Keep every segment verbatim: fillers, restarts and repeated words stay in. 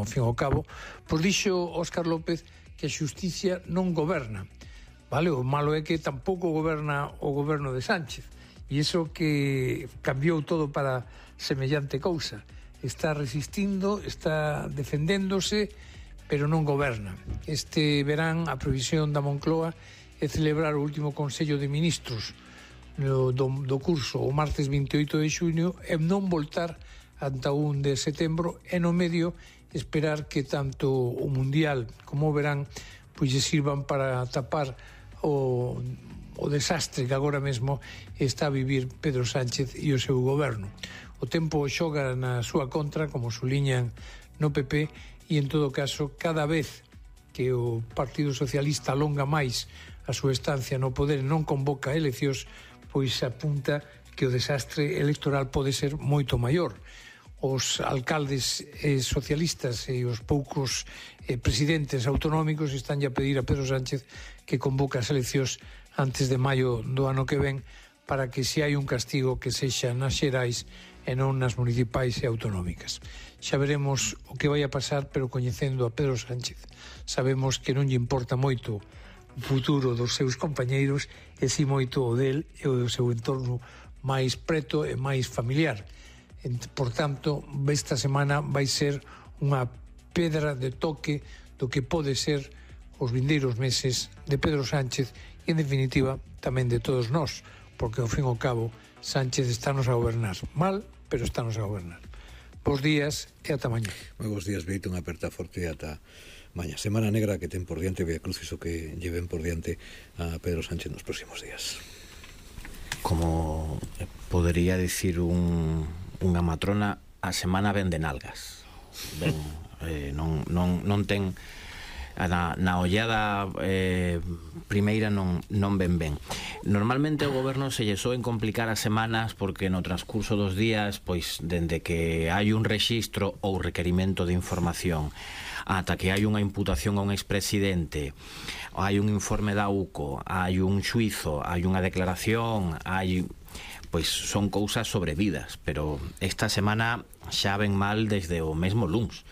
ao fin e ao cabo, pois dixo Óscar López que a xusticia non goberna, vale? O malo é que tampouco goberna o goberno de Sánchez, e iso que cambiou todo para semellante cousa. Está resistindo, está defendéndose, pero non goberna. Este verán a previsión da Moncloa é celebrar o último Consello de Ministros do, do, do curso o martes vinte e oito de xuño e non voltar ata o un de setembro e no medio esperar que tanto o Mundial como o verán pois lle sirvan para tapar o, o desastre que agora mesmo está a vivir Pedro Sánchez e o seu goberno. O tempo xoga na súa contra, como suliñan no P P, e en todo caso, cada vez que o Partido Socialista alonga máis a súa estancia no poder e non convoca eleccións, pois apunta que o desastre electoral pode ser moito maior. Os alcaldes eh, socialistas e os poucos eh, presidentes autonómicos están a pedir a Pedro Sánchez que convoque as eleccións antes de maio do ano que ven para que se hai un castigo que sexa nas xerais e non nas municipais e autonómicas. Xa veremos o que vai a pasar, pero coñecendo a Pedro Sánchez sabemos que non lle importa moito o futuro dos seus compañeiros e si moito o del e o do seu entorno máis preto e máis familiar. Por tanto, esta semana vai ser unha pedra de toque do que pode ser os vindeiros meses de Pedro Sánchez e, en definitiva, tamén de todos nós, porque, ao fin e ao cabo, Sánchez estános a gobernar mal, pero estános a gobernar. Bos días e ata mañá. Moi bos días, Beito, unha aperta forte ata mañá. Semana negra que ten por diante, Via Crucis o que lleven por diante a Pedro Sánchez nos próximos días. Como podería dicir un, unha matrona, a semana ven de nalgas. Ben, eh, non, non, non ten... Na, na ollada eh, primeira non, non ven ben. Normalmente o goberno se lle soen complicar as semanas porque no transcurso dos días, pois dende que hai un rexistro ou requerimento de información ata que hai unha imputación a un expresidente, hai un informe da U C O, hai un xuizo, hai unha declaración, hai... pois son cousas sobrevidas, pero esta semana xa ven mal desde o mesmo luns,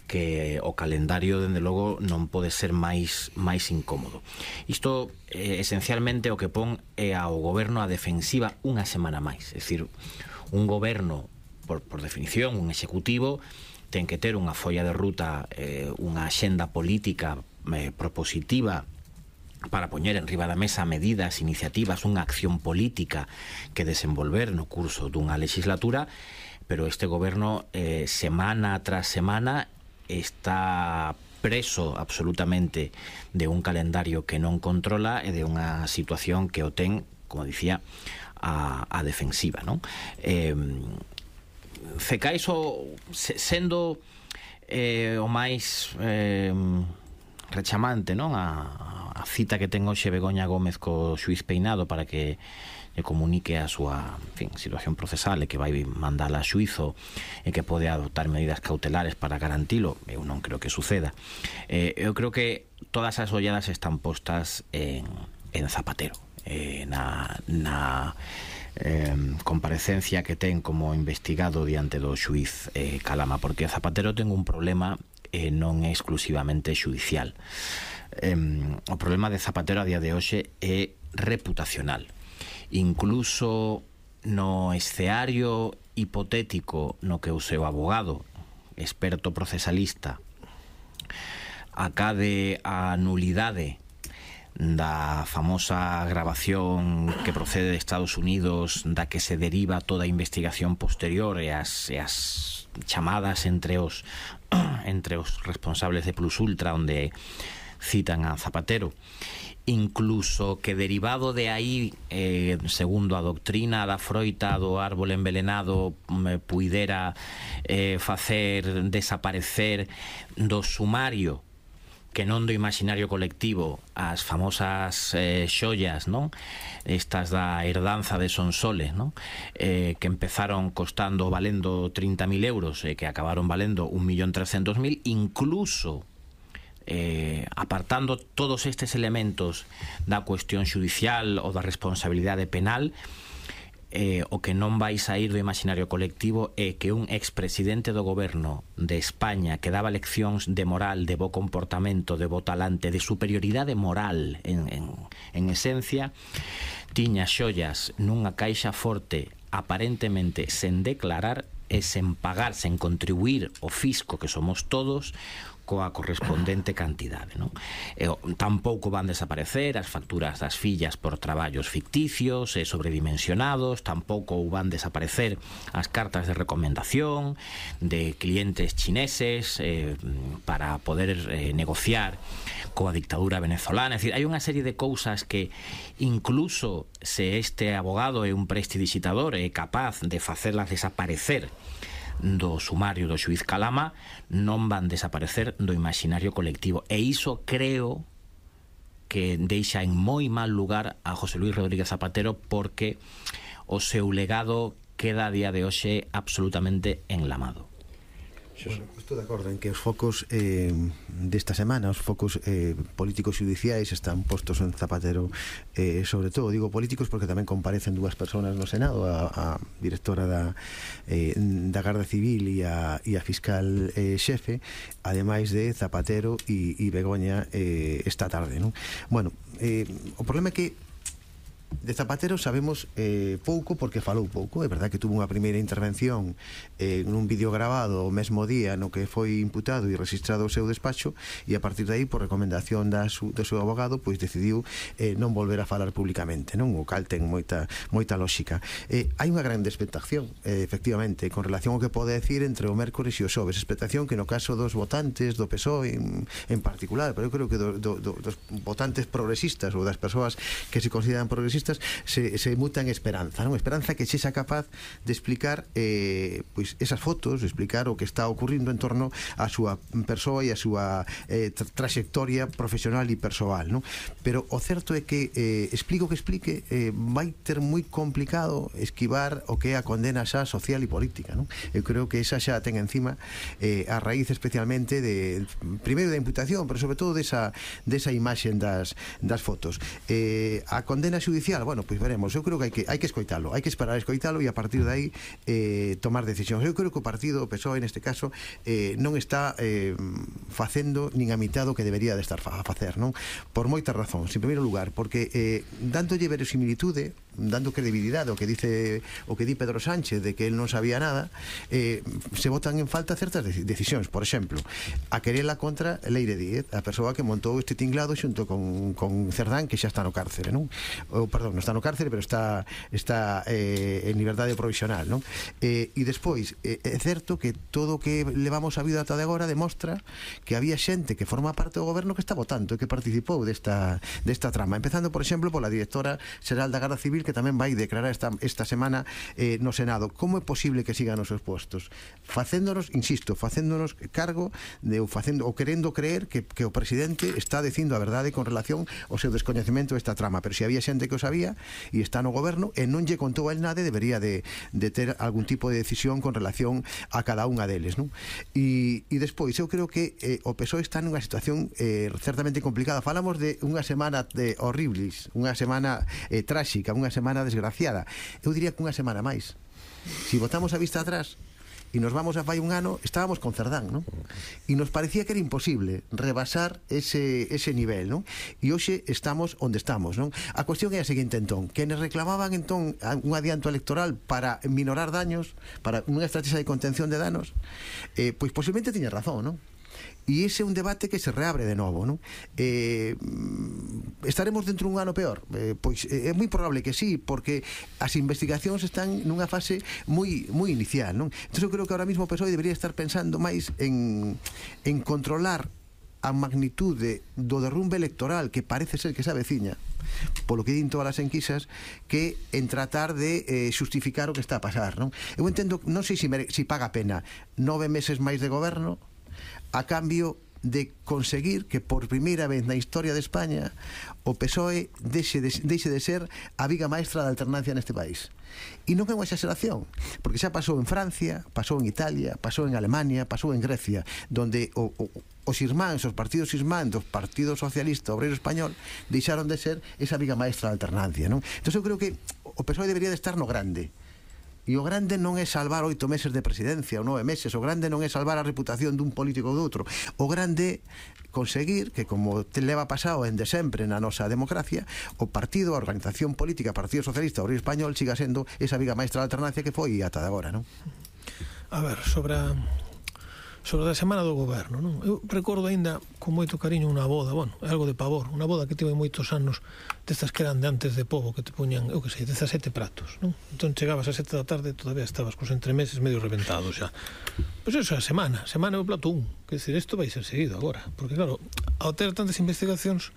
que o calendario, dende logo, non pode ser máis máis incómodo. Isto, eh, esencialmente, o que pon é ao goberno a defensiva unha semana máis. É dicir, un goberno, por, por definición, un executivo, ten que ter unha folla de ruta, eh, unha axenda política eh, propositiva para poñer en riba da mesa medidas, iniciativas, unha acción política que desenvolver no curso dunha legislatura, pero este goberno, eh, semana tras semana, está preso absolutamente de un calendario que non controla e de unha situación que o ten, como dicía, a, a defensiva, non? Eh, Cecais o, sendo eh, o máis eh, rechamante, non? A, a cita que ten hoxe Begoña Gómez co xuiz Peinado para que e comunique a súa, en fin, situación procesal e que vai mandala a xuizo e que pode adoptar medidas cautelares para garantilo. Eu non creo que suceda. Eh, eu creo que todas as olladas están postas en, en Zapatero, eh, na, na eh, comparecencia que ten como investigado diante do xuiz eh, Calama, porque Zapatero ten un problema e eh, non é exclusivamente xudicial. Eh, o problema de Zapatero a día de hoxe é reputacional. Incluso no escenario hipotético no que o seu abogado, experto procesalista, acade a nulidade da famosa grabación que procede de Estados Unidos, da que se deriva toda a investigación posterior e as, e as chamadas entre os entre os responsables de Plus Ultra, onde citan a Zapatero, incluso que derivado de aí, eh, segundo a doctrina da froita do árbol envelenado, me puidera eh, facer desaparecer do sumario, que non do imaginario colectivo, as famosas eh, xollas, non? Estas da herdanza de Sonsoles, non? Eh, que empezaron costando, valendo trinta mil euros e eh, que acabaron valendo un millón trescentos mil, incluso Eh, apartando todos estes elementos da cuestión xudicial ou da responsabilidade penal, eh, o que non vai sair do imaginario colectivo é que un expresidente do goberno de España que daba leccións de moral, de bo comportamento, de bo talante, de superioridade moral en, en, en esencia, tiña xollas nunha caixa forte aparentemente sen declarar e sen pagar, sen contribuir o fisco que somos todos coa correspondente cantidade, non? E, tampouco van desaparecer as facturas das fillas por traballos ficticios e sobredimensionados, tampouco van desaparecer as cartas de recomendación de clientes chineses eh, para poder eh, negociar coa dictadura venezolana. É dicir, hai unha serie de cousas que incluso se este abogado é un prestidigitador e é capaz de facelas desaparecer do sumario do xuiz Calama, non van desaparecer do imaginario colectivo, e iso creo que deixa en moi mal lugar a José Luis Rodríguez Zapatero, porque o seu legado queda a día de hoxe absolutamente enlamado. Bueno, estou de acordo en que os focos eh, desta semana, os focos eh, políticos xudiciais están postos en Zapatero, eh, sobre todo, digo políticos porque tamén comparecen dúas persoas no Senado, a, a directora da, eh, da Garda Civil e a, e a fiscal eh, xefe, ademais de Zapatero e, e Begoña eh, esta tarde, non? Bueno, eh, o problema é que de Zapatero sabemos eh, pouco porque falou pouco. É verdad que tuvo unha primeira intervención eh, nun vídeo grabado o mesmo día no que foi imputado e registrado o seu despacho, e a partir de aí, por recomendación da su, do seu abogado, pois decidiu eh, non volver a falar públicamente, non? O cal ten moita, moita lógica. Eh, hai unha grande expectación, eh, efectivamente, con relación ao que pode decir entre o mércores e o xoves, expectación que no caso dos votantes do P S O E en, en particular, pero eu creo que do, do, do, dos votantes progresistas ou das persoas que se consideran progresistas Se, se muta en esperanza, non? Esperanza que sexa capaz de explicar eh, pois esas fotos, explicar o que está ocurrindo en torno a súa persoa e a súa eh, tra trayectoria profesional e persoal, non? Pero o certo é que eh, explico que explique eh, vai ter moi complicado esquivar o que é a condena xa social e política, non? Eu creo que esa xa ten encima eh, a raíz especialmente de, primeiro da imputación, pero sobre todo desa, desa imaxen das, das fotos. Eh, a condena judicial, bueno, pois veremos. Eu creo que hai que, hai que escoitalo, hai que esperar a escoitalo e a partir de aí eh, tomar decisións. Eu creo que o partido, o P S O E neste caso, eh, non está eh, facendo nin a mitad do que debería de estar a facer, non? Por moitas razóns. En primeiro lugar, porque eh, dándolle verosimilitude, dando credibilidade ao que dice o que di Pedro Sánchez de que él non sabía nada, eh, se botan en falta certas decisións. Por exemplo, a querela contra Leire Díez, a persoa que montou este tinglado xunto con, con Cerdán, que xa está no cárcere, non? O, perdón, non está no cárcere, pero está está eh, en liberdade provisional, non? Eh, e despois, eh, é certo que todo o que levamos a vida ata de agora demostra que había xente que forma parte do goberno que está votando e que participou desta, desta trama, empezando, por exemplo, pola directora xeral da Garda Civil, que tamén vai declarar esta, esta semana eh, no Senado. Como é posible que sigan os seus postos? Facéndonos, insisto, facéndonos cargo de, ou, facendo, ou querendo creer que, que o presidente está dicindo a verdade con relación ao seu descoñecemento desta trama, pero se había xente que o sabía e está no goberno e non lle contou a él nada, debería de, de ter algún tipo de decisión con relación a cada unha deles, non? E, e despois, eu creo que eh, o P S O E está nunha situación eh, certamente complicada. Falamos de unha semana de horribles, unha semana eh, tráxica, unha semana desgraciada. Eu diría que unha semana máis. Si botamos a vista atrás e nos vamos a fai un ano, estábamos con Cerdán, non? E nos parecía que era imposible rebasar ese, ese nivel, non? E hoxe estamos onde estamos, non? A cuestión é a seguinte, entón, que nos reclamaban entón un adianto electoral para minorar daños, para unha estrategia de contención de danos, eh, pois posiblemente tiña razón, non? E ese é un debate que se reabre de novo, non? Eh, estaremos dentro dun ano peor? Eh, pois é moi probable que sí, porque as investigacións están nunha fase moi moi inicial, non? Entón eu creo que ahora mismo o P S O E debería estar pensando máis en, en controlar a magnitude do derrumbe electoral que parece ser que se aveciña, polo que din todas as enquisas, que en tratar de eh, justificar o que está a pasar, non? Eu entendo, non sei se, mere, se paga pena nove meses máis de goberno a cambio de conseguir que por primeira vez na historia de España o P S O E deixe de, deixe de ser a viga maestra da alternancia neste país. E non é unha exageración, porque xa pasou en Francia, pasou en Italia, pasou en Alemania, pasou en Grecia, donde o, o, os irmáns, os partidos irmáns do Partido Socialista Obreiro Español deixaron de ser esa viga maestra da alternancia, non? Entón eu creo que o P S O E debería de estar no grande. E o grande non é salvar oito meses de presidencia ou nove meses, o grande non é salvar a reputación dun político ou doutro, o grande conseguir que, como te leva pasado en de sempre na nosa democracia, o partido, a organización política, Partido Socialista Obrero Español, siga sendo esa viga maestra da alternancia que foi ata de agora, non? A ver, sobre a sobre a semana do goberno, non? Eu recordo aínda con moito cariño unha boda, bueno, é algo de pavor, unha boda que tive moitos anos destas que eran de antes de pobo, que te poñan, eu que sei, dezasete pratos, non? Entón chegabas a sete da tarde e todavía estabas cos entremeses medio reventados xa. Pois eso é a semana, semana é o plato un, que decir, isto vai ser seguido agora, porque claro, ao ter tantas investigacións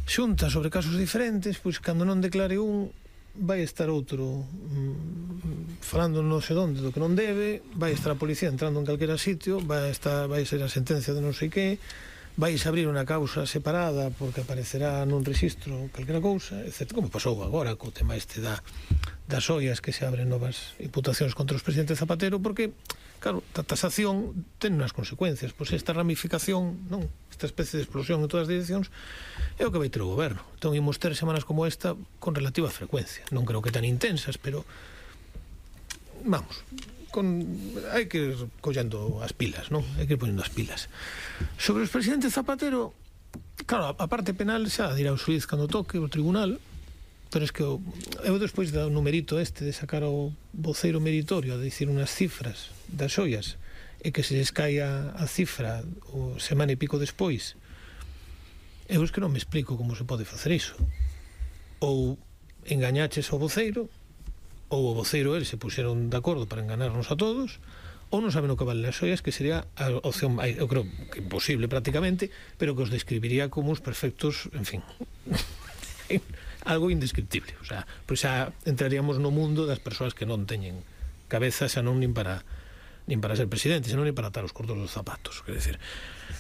xuntas sobre casos diferentes, pois cando non declare un, vai estar outro mm, falando non sei onde do que non debe, vai estar a policía entrando en calquera sitio, vai estar vai ser a sentencia de non sei que, vais abrir unha causa separada porque aparecerá nun registro calquera cousa, etcétera, como pasou agora co tema este da, das ollas que se abren novas imputacións contra os presidentes Zapatero, porque claro, a tasación ten unhas consecuencias, pois esta ramificación, non, esta especie de explosión en todas as direccións é o que vai ter o goberno. Entón imos ter semanas como esta con relativa frecuencia, non creo que tan intensas, pero vamos, con hai que ir collendo as pilas, non? Hai que ir ponendo as pilas. Sobre os presidentes Zapatero, claro, a parte penal xa dirá o xuiz cando toque o tribunal, pero es que o, eu despois do numerito este de sacar o voceiro meritorio a dicir unhas cifras das ollas e que se les caia a cifra o semana e pico despois, eu es que non me explico como se pode facer iso. Ou engañaches ao voceiro, ou o voceiro el se puxeron de acordo para enganarnos a todos, ou non saben o que valen as ollas, que sería a opción, eu creo que imposible prácticamente, pero que os describiría como uns perfectos, en fin, algo indescriptible. O sea, pois xa entraríamos no mundo das persoas que non teñen cabeza, xa non nin para nin para ser presidente, senón nin para atar os cordos dos zapatos. Quer dizer,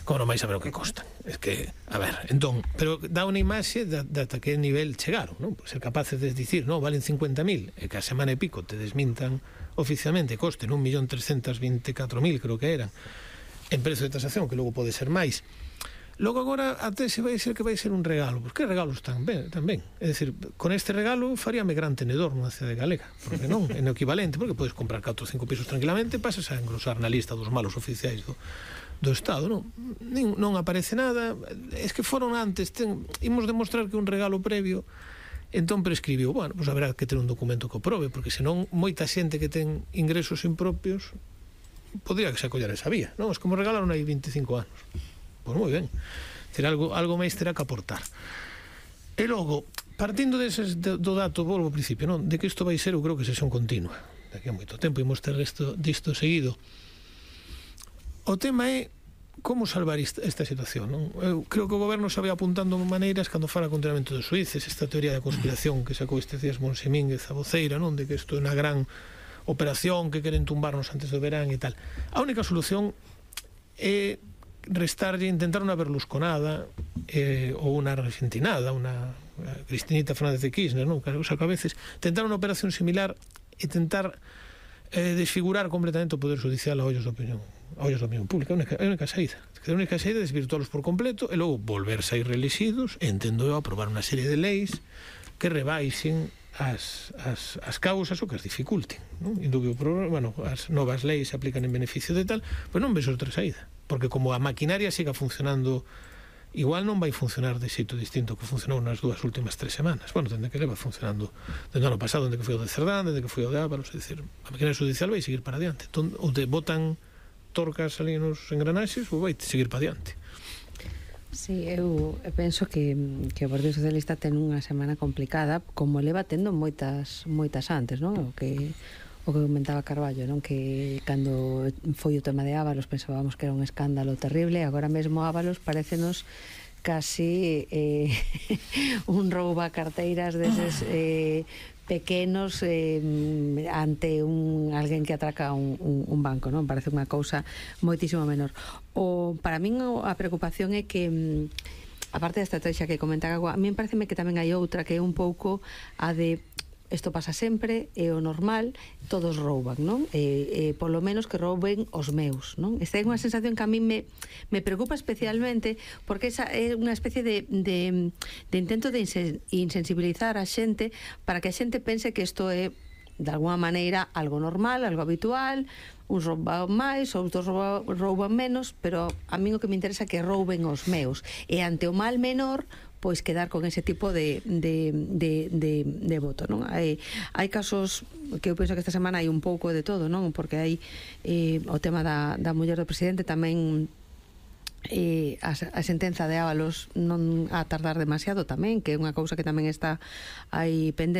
como non vais saber o que costan. Es que, a ver, entón, pero dá unha imaxe de, de ata que nivel chegaron, non? Pues ser capaces de dicir, non, valen cincuenta mil, e que a semana e pico te desmintan oficialmente, costen un millón trescentos veinticuatro mil, creo que eran, en prezo de tasación, que logo pode ser máis. Logo agora até se vai ser que vai ser un regalo. Pois que regalos tan ben, tan ben. É dicir, con este regalo faríame gran tenedor nunha cidade galega, porque non, é no equivalente, porque podes comprar catro ou cinco pisos tranquilamente, pasas a engrosar na lista dos malos oficiais do, do Estado, non? Nin, non aparece nada, es que foron antes, ten, imos demostrar que un regalo previo, entón prescribiu, bueno, pois haberá que ter un documento que o probe, porque senón moita xente que ten ingresos impropios podría que se acollar esa vía, non? Es como regalaron aí veinticinco anos. Pois moi ben, ter algo, algo máis terá que aportar. E logo, partindo deses, de, do dato, volvo ao principio, non? De que isto vai ser, eu creo que sesión continua. Daqui a moito tempo imos ter isto, disto seguido. O tema é como salvar esta, esta situación, non? Eu creo que o goberno se vai apuntando maneiras cando fala contra-amento dos suíces, esta teoría de conspiración que sacou estes días Monsemínguez a voceira, non? De que isto é unha gran operación que queren tumbarnos antes do verán e tal. A única solución é restarlle, intentar unha berlusconada eh, ou unha argentinada, unha Cristinita Fernández de Kirchner, non? O sea, que a veces tentar unha operación similar e tentar eh, desfigurar completamente o poder judicial a ollos da opinión, a ollos da opinión pública. É a única saída. A única saída é desvirtualos por completo e logo volverse a ir reelexidos e entendo eu aprobar unha serie de leis que rebaixen as, as, as causas ou que as dificulten, non? Indubio problema, bueno, as novas leis se aplican en beneficio de tal, pois non ves outra saída, porque como a maquinaria siga funcionando igual, non vai funcionar de xeito distinto que funcionou nas dúas últimas tres semanas. Bueno, dende que leva funcionando dende o ano pasado, dende que foi o de Cerdán, dende que foi o de Ábalos, é dicir, a maquinaria judicial vai seguir para adiante. Entón, ou te botan torcas ali nos engranaxes ou vai seguir para adiante. Sí, eu penso que, que o Partido Socialista ten unha semana complicada, como leva tendo moitas moitas antes, non? O que o que comentaba Carballo, non? Que cando foi o tema de Ábalos pensábamos que era un escándalo terrible, agora mesmo Ábalos parécenos casi eh, un rouba carteiras deses eh, pequenos eh, ante un alguén que atraca un, un, un banco, non? Parece unha cousa moitísimo menor. O, para min a preocupación é que aparte da estrategia que comentaba, a min pareceme que tamén hai outra que é un pouco a de isto pasa sempre, é o normal, todos rouban, non? E, e polo menos que rouben os meus, non? Esta é unha sensación que a mí me, me preocupa especialmente, porque esa é unha especie de, de, de intento de insensibilizar a xente para que a xente pense que isto é de alguma maneira algo normal, algo habitual, uns rouban máis, outros rouban, rouban menos, pero a mí o que me interesa é que rouben os meus, e ante o mal menor pois quedar con ese tipo de, de, de, de, de voto, non? Hai, hai casos que eu penso que esta semana hai un pouco de todo, non? Porque hai eh, o tema da, da muller do presidente, tamén eh, a, a sentenza de Ábalos non a tardar demasiado tamén, que é unha cousa que tamén está aí pendente.